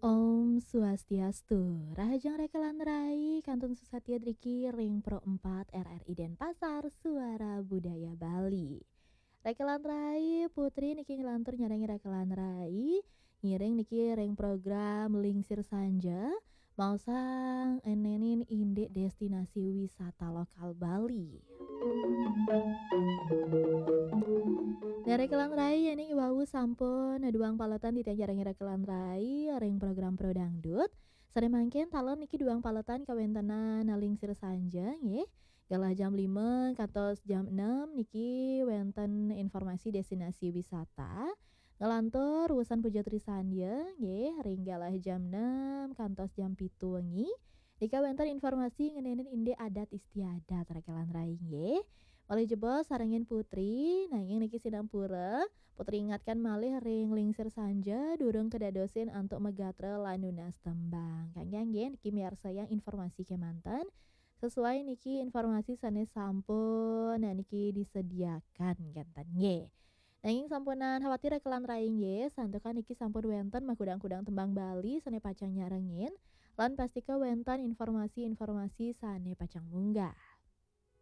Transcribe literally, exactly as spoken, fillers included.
Om Swastiastu. Rahajeng rekelan rai kantun susatia driki ring Pro empat R R I Denpasar, Suara Budaya Bali. Rekelan rai, Putri niki nglantur nyarengin rekelan rai, ngiring niki ring program Lingsir Sanja, maosang enenin indik destinasi wisata lokal Bali. Nah, rekelan rai, yening wau sampun duang paletan titiang nyarengin rekelan rai ring program Pro Dangdut. Sane mangkin taler niki duang paletan kawentenan Lingsir Sanja, nggih. Galah jam lima kantos jam enam niki wenten informasi destinasi wisata. Nglantur wusan Puja Trisandya, nggih, ring galah jam enam kantos jam pitu wengi. Nika wenten informasi ngenenin indik adat istiadat rekelan rai, nggih. Malih jebos sarengin Putri, nanging niki sinampura, Putri ingatkan malih ring Lingsir Sanja, durung kedadosin antuk magatra lan nunas tembang. Kangge nggih, niki miarsayang informasi kemanten, sesuai niki informasi sane sampun, nah, niki disediakan kenten, nggih. Nanging sampunang khawatir rekelan rai, nggih, santukan niki sampun wenten makudang-kudang tembang Bali sane pacang nyarengin, lan pastika wenten informasi-informasi sane pacang munggah.